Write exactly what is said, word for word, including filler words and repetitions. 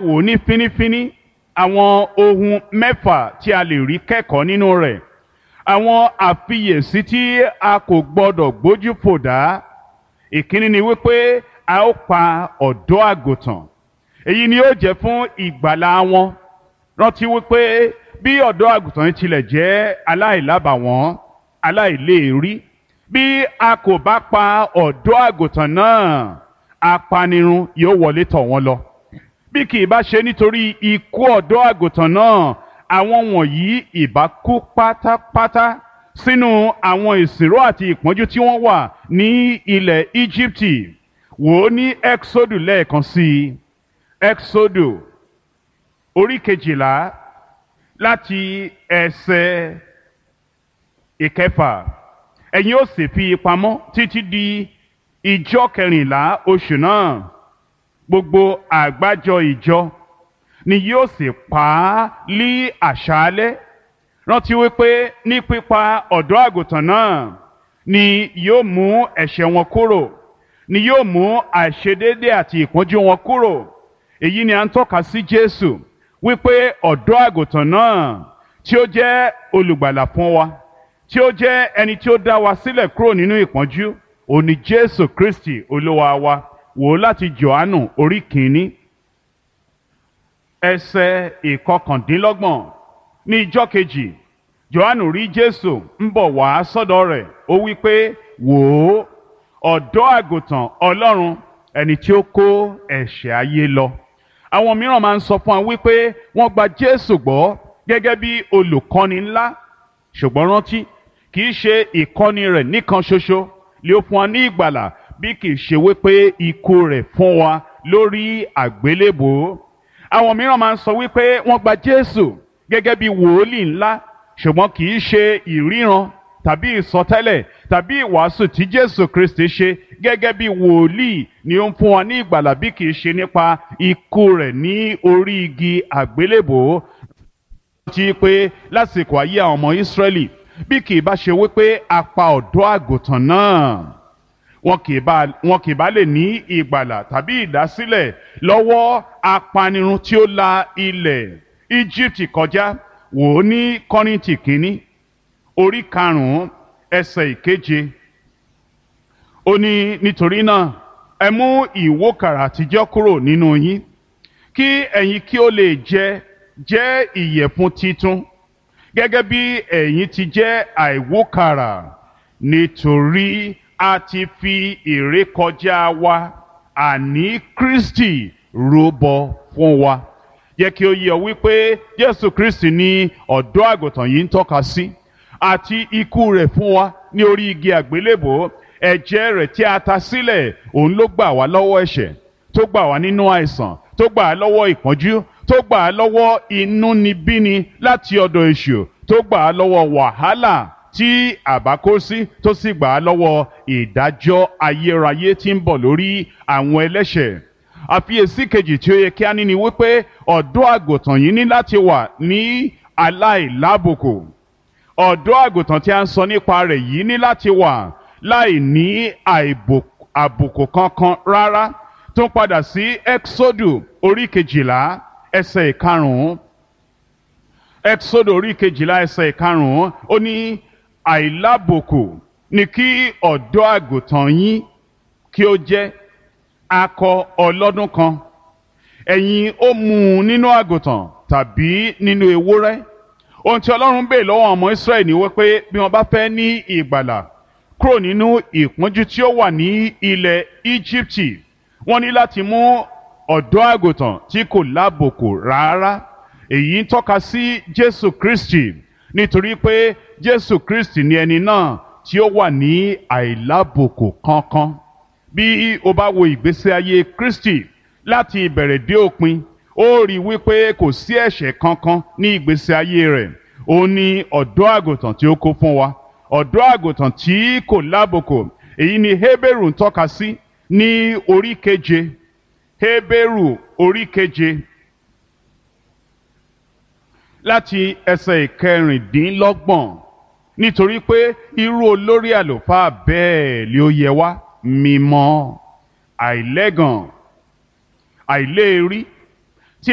Wò ó ní fínífíní àwọn ohun mẹ́fà tí a lè rí kẹ́kọ̀ọ́ nínú rẹ̀, àwọn àfiyèsí tí a kò gbọdọ̀ gbójú fò dá. Ìkíní ni wípé a ó pa ọ̀dọ́ àgùntàn. Èyí ni ó jẹ́ fún ìgbàlà wọn. Rántí wípé bí ọ̀dọ́ àgùntàn yìí tilẹ̀ jẹ́ aláìlábàwọ́n, aláìléèrí, bí a kò bá pa ọ̀dọ́ àgùntàn náà, apanirun yóò wọlé tọ̀ wọ́n lọ. Bí kì í bá ṣe nítorí ikú ọ̀dọ́ àgùntàn náà, àwọn wọ̀nyí ìbá kú pátápátá sínú àwọn ìsìnró àti ìpọ́njú tí wọ́n wà ní ilẹ̀ Íjíbítì. Wò ó ní Ẹ́xódù lẹ́ẹ̀kan sí i. Ẹ́xódù orí kejìlá láti ẹsẹ̀ ìkẹfà. Ẹ̀yin ó sì fi pamọ́ títí di ìjọ kẹrìnlá oṣù náà. Gbogbo àgbájọ ìjọ ni yóò sì pa á lí àṣálẹ́. Rántí wípé ní pípa ọ̀dọ́ àgùntàn náà ni yóò mú ẹ̀ṣẹ̀ wọn kúrò, ni yóò mú àìṣedéédé àti ìpọ́njú wọn kúrò. Èyí ni à ń tọ́ka sí Jésù, wípé ọ̀dọ́ àgùntàn náà tí ó jẹ́ olùgbàlà fún wa, tí ó jẹ́ ẹni tí ó dá wa sílẹ̀ kúrò nínú ìpọ́njú, òun ni Jésù Kristi Olúwa wa. Wò ó láti Jòhánù orí kìíní, ẹsẹ̀ ìkọkàndínlọ́gbọ̀n. Ní ijọ́ kejì, Jòhánù rí Jésù ń bọ̀ wá sọ́dọ̀ rẹ̀. Ó wí pé, wò ó, ọ̀dọ́ àgùntàn Ọlọ́run, ẹni tí ó kó ẹ̀ṣẹ̀ ayé lọ. Àwọn mìíràn máa ń sọ fún wa wípé wọ́n gba Jésù gbọ́ gẹ́gẹ́ bí olùkọ́ni ńlá. Ṣùgbọ́n rántí, kì í ṣe ìkọ́ni rẹ̀ nìkan ṣoṣo lè ó fún wa ní ìgbàlà, bí kì í ṣe wípé ikú rẹ̀ fún wa lórí àgbélébòó. Àwọn mìíràn máa ń sọ wípé wọ́n gba Jésù gẹ́gẹ́ bí wòólì ńlá, ṣùgbọ́n kì í ṣe ìríran tàbí ìsọtẹ́lẹ̀ tàbí ìwàásù tí Jésù Kristi ṣe gẹ́gẹ́ bí wòlíì ni ó ń fún wa ní ìgbàlà, bí kì í ṣe nípa ikú rẹ̀ ní orí igi àgbélébòó. Rántí pé lásìkò ayé àwọn ọmọ Ísírẹ́lì, bí kì í bá ṣe wípé a pa ọ̀dọ́ àgùntàn náà, wọn kì í bá wọn kì í bá lè ní ìgbàlà tàbí ìdásílẹ̀ lọ́wọ́ apanirun tí ó la ilẹ̀ Íjíbítì kọjá. Wò ó ní Kọ́ríńtì kínní orí karùn-ún ẹsẹ̀ ìkeje. Ó ní, nítorí náà ẹ mú ìwókàrà àtijọ́ kúrò nínú yín, kí ẹ̀yin kí ó lè jẹ jẹ́ ìyẹ̀fun titun, gẹ́gẹ́ bí ẹ̀yin ti jẹ́ àìwókàrà, nítorí a ti fi ìrékọjá wa, àní Kristi, rúbọ fún wa. Jẹ́ kí ó yé ọ wípé Jésù Kristi ni ọ̀dọ́ àgùntàn yìí ń tọ́ka sí, àti ikú rẹ̀ fún wa ní orí igi àgbélébòó. Ẹ̀jẹ̀ rẹ̀ tí a ta sílẹ̀, òun ló gbà wá lọ́wọ́ ẹ̀ṣẹ̀, tó gbà wá nínú àìsàn, tó gbà á lọ́wọ́ ìpọ́njú, tó gbà á lọ́wọ́ inúnibíni láti ọ̀dọ̀ èṣù, tó gbà á lọ́wọ́ wàhálà tí àbá kó sí, tó sì gbà á lọ́wọ́ ìdájọ́ ayérayé tí ń bọ̀ lórí àwọn ẹlẹ́ṣẹ̀. Àfiyèsí kejì tí ó yẹ kí a ní ni wípé ọ̀dọ́ àgùntàn yìí ní láti wà ní aláìlábùkù. Ọ̀dọ́ àgùntàn tí a ń sọ nípa rẹ̀ yìí ní láti wà láì ní àbùkù kankan rárá. Tó ń padà sí Ẹ́xódù orí kejìlá ẹsẹ̀ ìkarùn-ún. Ẹ́xódù orí kejìlá ẹsẹ̀ ìkarùn-ún, ó ní, àìlábùkù ni kí ọ̀dọ́ àgùntàn yín kí ó jẹ́, akọ ọlọ́dún kan. Ẹ̀yin ó mú un nínú àgùntàn tàbí nínú ewúrẹ́. Ohun tí Ọlọ́run béèrè lọ́wọ́ ọmọ Ísírẹ́lì ni wípé bí wọ́n bá fẹ́ ní ìgbàlà kúrò nínú ìpọ́njú tí ó wà ní ilẹ̀ Íjíbítì, wọ́n ní láti mú ọ̀dọ́ àgùntàn tí kò lábùkù rárá. Èyí ń tọ́ka sí Jésù Kristi, nítorí pé Jésù Kristi ni ẹni náà tí ó wà ní àìlábùkù kankan. Bí o bá wo ìgbésí ayé Kristi láti ìbẹ̀rẹ̀ dé òpin, ó rí wípé kò sí ẹ̀ṣẹ̀ kankan ní ìgbésí ayé rẹ̀. Ó ní ọ̀dọ́ àgùntàn tí ó kó fún wa, ọ̀dọ́ àgùntàn tí kò lábùkù. Èyí ni Hébérù ń tọ́ka sí ní orí keje. Hébérù orí keje láti ẹsẹ̀ ìkẹrìndínlọ́gbọ̀n. Nítorí pé irú olórí àlùfáà bẹ́ẹ̀ ni ó yẹ wá, mímọ́, àìlẹ́gàn, àìléèrí.